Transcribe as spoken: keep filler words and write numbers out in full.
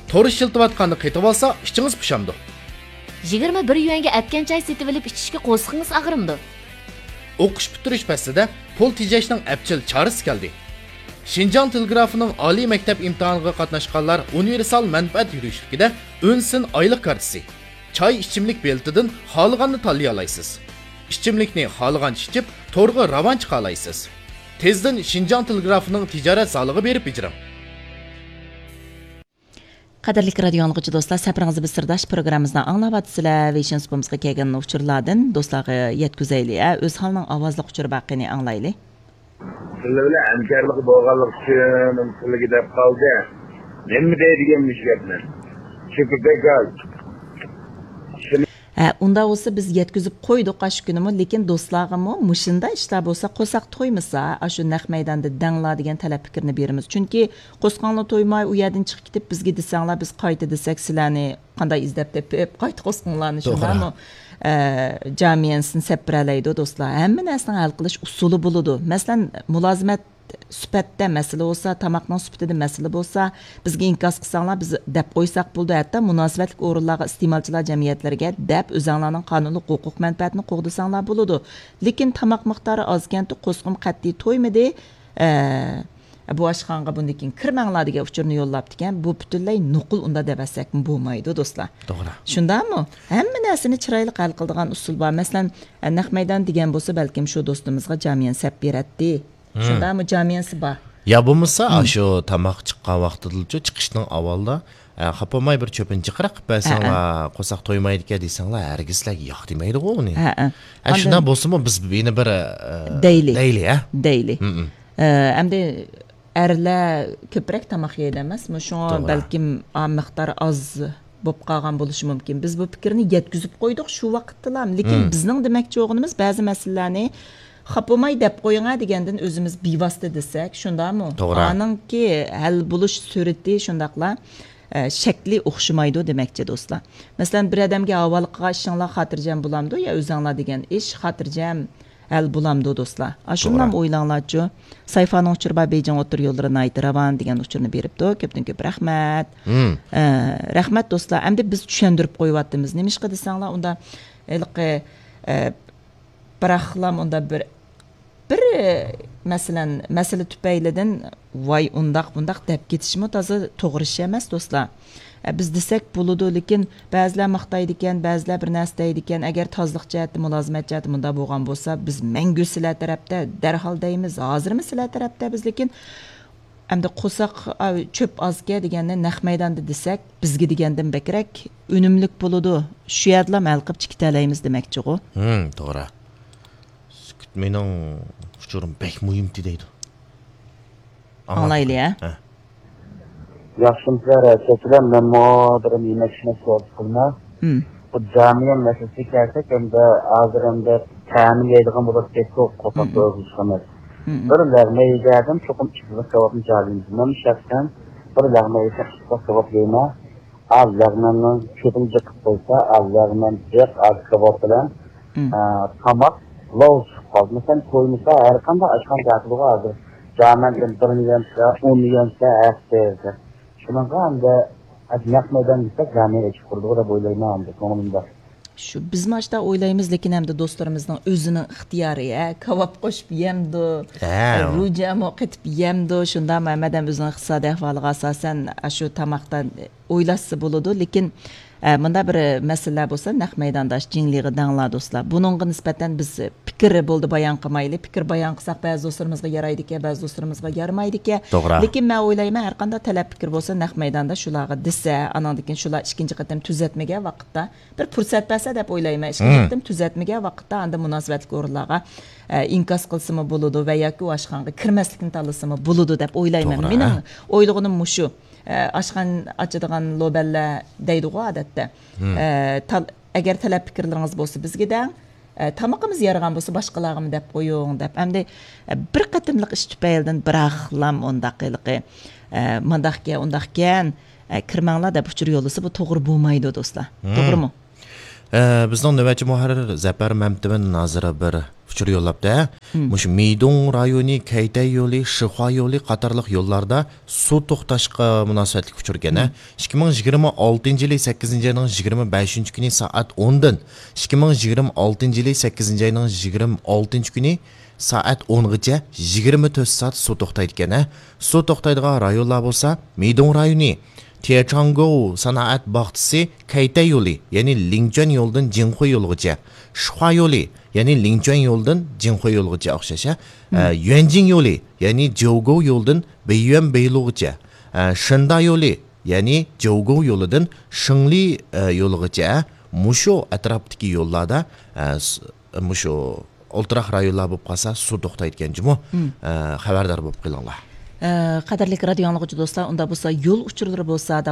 تور ئىشلىتىۋاتقاندا قېتىۋالسا ئىچىڭىز پۇشامدۇ؟ يىگىرمە بىر يۈەنگە ئەتكەن چاي سېتىۋېلىپ ئىچىشكە قورسىقىڭىز ئاغرىمدۇ؟ ئوقۇش پۈتتۈرۈش پەسلىدە پۇل تېجەشنىڭ ئەپچىل چارىسى كەلدى. شىنجاڭ تېلېگرافىنىڭ ئالىي مەكتەپ ئىمتىھانىغا قاتناشقانلار ئۇنىۋېرسال مەنپەئەت يۈرۈشلۈكىدە ئۈن سىن ئايلىق كارتىسى، چاي ئىچىملىك بېلىتىدىن خالىغاننى تاللىيالايسىز. ئىچىملىكنى خالىغانچە ئىچىپ، تورغا راۋان چىقالايسىز. تېزدىن شىنجاڭ تېلېگرافىنىڭ تىجارەت زالىغا بېرىپ بېجىرىڭ. قەدىرلىك رادىيو ئاڭلىغۇچى دوستلار، سەپىرىڭىزدە بىز سىرداش پروگراممىمىزنى ئاڭلاۋاتىسىلەر. ۋېيشىن سۇپىمىزغا كەلگەن ئۇچۇرلاردىن دوستلارغا يەتكۈزەيلى. ئە، ئۆزھالنىڭ ئاۋازلىق ئۇچۇرى بار، قېنى ئاڭلايلى. سىلەر بىلەن ھەمكارلىق بولغانلىقى ئۈچۈن سىلەرگە دەپ قالدى. نېمە دەيدىغان مۇشۇ گەپنى؟ شۇ بەك ئاز. ھە، ئۇنداق بولسا بىز يەتكۈزۈپ قويدۇق ئاشۇ كۈنىمۇ، لېكىن دوستلارغىمۇ مۇشۇنداق ئىشلار بولسا، قورساق تويمىسا، ئاشۇ نەق مەيداندا دەڭلار دېگەن تەلەپ پىكىرنى بېرىمىز. چۈنكى قورسىقىڭلار تويماي، ئۇ يەردىن چىقىپ كېتىپ، بىزگە دېسەڭلار، بىز قايتا دېسەك، سىلەرنى قانداق ئىزدەپ تېپىپ، قايتا قورسىقىڭلارنى، توغرا، شۇنداقمۇ؟ ئە، جامىيەنسىنى سەپ بېرەلەيدۇ، دوستلار. ھەممە نەرسىنىڭ ھەل قىلىش ئۇسۇلى بولىدۇ. مەسىلەن، مۇلازىمەت سۈپەتتە مەسىلە بولسا، تاماقنىڭ سۈپىتىدە مەسىلە بولسا، بىزگە ئىنكاس قىلساڭلار، بىز دەپ قويساق بولىدۇ. ھەتتا مۇناسىۋەتلىك ئورۇنلارغا، ئىستېمالچىلار جەمئىيەتلىرىگە دەپ، ئۆزۈڭلارنىڭ قانۇنلۇق ھوقۇق مەنپەئەتىنى قوغدىساڭلار بولىدۇ. لېكىن تاماق مىقدارى ئازكەنتۇ، قورسىقىم قەتئىي تويمىدى. ئە، بۇ ئاشخانىغا بۇندىن كېيىن كىرمەڭلار دېگەن ئۇچۇرنى يوللاپتىكەن. بۇ پۈتۈنلەي نوقۇل، ئۇنداق دەۋەتسەكمۇ بولمايدۇ، دوستلار. توغرا. شۇنداقمۇ؟ ھەممە نەرسىنى چىرايلىق ھەل قىلىدىغان ئۇسۇل بار. مەسىلەن، ئە، نەق مەيدان دېگەن بولسا، بەلكىم شۇ دوستىمىزغا جامىيەن سەپ بېرەتتى. شۇنداقمۇ؟ جامىيەنسى بار. يا بولمىسا، ئاشۇ تاماق چىققان ۋاقتىدىلىچۇ، چىقىشنىڭ ئاۋۋالدا، ئە، خاپا بولماي بىر چۆپىنى جىقراق قىلىپ بەرسەڭلار، قورساق تويمايدىكەن دېسەڭلار، ھەرگىزلەر ياق دېمەيدىغۇ ئۇنى. ھە، ھە. ئە، شۇنداق بولسىمۇ، بىز يەنە بىر، ئە، دەيلى. دەيلى، ھە؟ دەيلى. ئە، ئەمدى ئەرلەر كۆپرەك تاماق يەيدۇ ئەمەسمۇ؟ شۇڭا بەلكىم ئا مىقدار ئاز بولۇپ قالغان بولۇشى مۇمكىن. بىز بۇ پىكىرنى يەتكۈزۈپ قويدۇق شۇ ۋاقىتتىلا. لېكىن بىزنىڭ دېمەكچى بولغىنىمىز، بەزى مەسىلىلەرنى خاپا بولماي دەپ قويۇڭە دېگەندىن ئۆزىمىز بىۋاسىتە دېسەك، شۇنداقمۇ؟ توغرا. ئانىڭكى ھەل بولۇش سۈرئىتى شۇنداقلا، ئە، شەكلى ئوخشىمايدۇ دېمەكچى، دوستلار. مەسىلەن، بىر ئادەمگە ھاۋالە قىلغان ئىشىڭلار خاتىرجەم بولامدۇ يا ئۆزۈڭلار دېگەن ئىش خاتىرجەم ھەل بولامدۇ، دوستلار؟ ئاشۇنداقمۇ ئويلاڭلارچۇ؟ سايفانىڭ ئۇچۇرى بار، بېيجىڭ ئوتتۇرا يوللىرى ناھايىتى راۋان دېگەن ئۇچۇرنى بېرىپتۇ. كۆپتىن كۆپ رەھمەت. ئە، رەھمەت، دوستلار. ئەمدى بىز چۈشەندۈرۈپ قويۇۋاتىمىز. نېمىشقا دېسەڭلار، ئۇندا ھېلىقى، ئە، بىراقلام ئۇندا بىر، بىر، مەسىلەن، مەسىلە تۈپەيلىدىن، ۋاي، ئۇنداق، بۇنداق دەپ كېتىشمۇ تازا توغرا ئىش ئەمەس، دوستلار. ئە، بىز دېسەك بولىدۇ، لېكىن بەزىلەر ماختايدىكەن، بەزىلەر بىر نەرسە دەيدىكەن. ئەگەر تازىلىق جەھەتتە، مۇلازىمەت جەھەتتە مۇنداق بولغان بولسا، بىز مەڭگۈ سىلەر تەرەپتە، دەرھال دەيمىز، ھازىرمۇ سىلەر تەرەپتە بىز. لېكىن ئەمدى قورساق، ئا، چۆپ ئازكەن دېگەننى نەق مەيداندا دېسەك، بىزگە دېگەندىن بەكرەك ئۈنۈملۈك بولىدۇ. شۇ يەردىلا ھەل قىلىپ چىقىۋېتەلەيمىز دېمەكچىغۇ. ھىم، توغرا. سۈكۈت مېنىڭ ئۇچۇرۇم بەك مۇھىمتى دەيدۇ. ئاڭلايلى، ھە؟ ھە. ياخشىمۇسىلەر، ھەرىكەتچىلەر؟ مەنمۇ بىر يېمەك-ئىچمەك سودا قىلىمەن. ھىم. بۇ جامىيە مەسىلىسىگە كەلسەك، ئەمدى ھازىر ئەمدى تەمىنلەيدىغان بولۇپ كەتتۇق، قورساق تويغۇزۇش ئەمەس. بىر لەغمەن يېگەندىن چوقۇم ئىككى قورساق كاۋاپنى جارىمىز. مەن شەخسەن بىر لەغمەن يېسەم، ئىككى قورساق كاۋاپ يەيمەن. ئاز لەغمەننىڭ چۆپىنى جىق قىلىپ قويسا، ئاز لەغمەن جىق، ئاز كاۋاپ بىلەن، ئە، تاماق لاۋ چىقىپ قالدى. مەسىلەن، تويمىسا، ھەر قانداق ئاشخانا دەپلىغۇ ھازىر جامەندىن بىرنى يەمسە، ئوننى يەمسە، ھەقسىز. شۇنىڭغا ئەمدى نەق مەيدان دېسەك، جامىيەت ئېچىپ قۇرىدىغۇ دەپ ئويلايمەن ئەمدى كۆڭلۈمدە. شۇ، بىزمۇ ئاشتا ئويلايمىز، لېكىن ئەمدى دوستلىرىمىزنىڭ ئۆزىنىڭ ئىختىيارى، ھە، كاۋاپ قوشۇپ يەمدۇ، ھە، روجامۇ قېتىپ يەمدۇ، شۇنداقمۇ؟ ھەممە ئادەم ئۆزىنىڭ ئىقتىسادىي ئەھۋالىغا ئاساسەن، ئاشۇ تاماقتا ئويلاشسا بولىدۇ، لېكىن، ئە، مۇنداق بىر مەسىلىلەر بولسا، نەق مەيداندا ئاشۇ جىڭلىغا دەڭلار، دوستلار. بۇنىڭغا نىسبەتەن بىز پىكىر بولدى بايان قىلمايلى. پىكىر بايان قىلساق، بەزى دوستلىرىمىزغا يارايدىكەن، بەزى دوستلىرىمىزغا يارىمايدىكەن. توغرا. لېكىن مەن ئويلايمەن، ھەر قانداق تەلەپ پىكىر بولسا، نەق مەيداندا شۇلارغا دېسە، ئاناندىن كېيىن شۇلار ئىككىنچى قېتىم تۈزەتمىگەن ۋاقىتتا، بىر پۇرسەت بەرسە دەپ ئويلايمەن. ئىككىنچى قېتىم تۈزەتمىگەن ۋاقىتتا ئاندىن مۇناسىۋەتلىك ئورۇنلارغا، ئە، ئىنكاس قىلسىمۇ بولىدۇ ۋە ياكى ئۇ ئاشخانىغا كىرمەسلىكنى تاللىسىمۇ بولىدۇ دەپ ئويلايمەن. توغرا، مېنىڭ ئويلىغىنىم مۇشۇ. ئە، ئاشخانا ئاچىدىغان لوبەنلەر دەيدىغۇ ئادەتتە. ئە، تال-، ئەگەر تەلەپ پىكىرلىرىڭىز بولسا بىزگە دەڭ. ئە، تامىقىمىز يارىغان بولسا باشقىلارغىمۇ دەپ قويۇڭ دەپ. ئەمدى، ئە، بىر قېتىملىق ئىش تۈپەيلىدىن بىراقلام ئۇنداق ھېلىقى، ئە، مۇنداقكەن، ئۇنداقكەن، ئە، كىرمەڭلار دەپ ئۇچۇر يوللىسا، بۇ توغرا بولمايدۇ، دوستلار. توغرىمۇ؟ ئە، بىزنىڭ نۆۋەتچى مۇھەررىر زەپەر مەمتىمىن ھازىر بىر ئۇچۇر يوللاپتۇ. مۇشۇ مىدۇڭ رايونى كەيتەي يولى، شىخۇا يولى قاتارلىق يوللاردا سۇ توختاشقا مۇناسىۋەتلىك ئۇچۇر ئىكەن. ئىككى مىڭ يىگىرمە ئالتىنچى يىلى سەككىزىنچى ئاينىڭ يىگىرمە بەشىنچى كۈنى سائەت ئوندىن، ئىككى مىڭ يىگىرمە ئالتىنچى يىلى سەككىزىنچى ئاينىڭ يىگىرمە ئالتىنچى كۈنى سائەت ئونغىچە يىگىرمە تۆت سائەت سۇ توختايدىكەن. سۇ توختايدىغان رايونلار بولسا، مىدۇڭ رايونى، تيەچاڭگوۋ سانائەت باغچىسى كەيتەي يولى، يەنى لىڭچۈەن يولىدىن جىڭخۇي يولىغىچە، شىخۇا يولى، يەنى لىڭچۈەن يولىدىن جىڭخۇي يولىغىچە ئوخشاش، ئە، يۈەنجىڭ يولى، يەنى جيوگوۋ يولىدىن بېييۈەن بېيلۇغىچە، ئە، شېندا يولى، يەنى جيوگوۋ يولىدىن شېڭلى، ئە، يولىغىچە مۇشۇ ئەتراپتىكى يوللاردا، ئە، س-، مۇشۇ ئولتۇراق رايونلار بولۇپ قالسا سۇ توختايدىكەن جۇمۇ. ئە، خەۋەردار بولۇپ قېلىڭلار. ئە، قەدىرلىك رادىيو ئاڭلىغۇچى دوستلار، ئۇندا بولسا يول ئۇچۇرلىرى بولسا،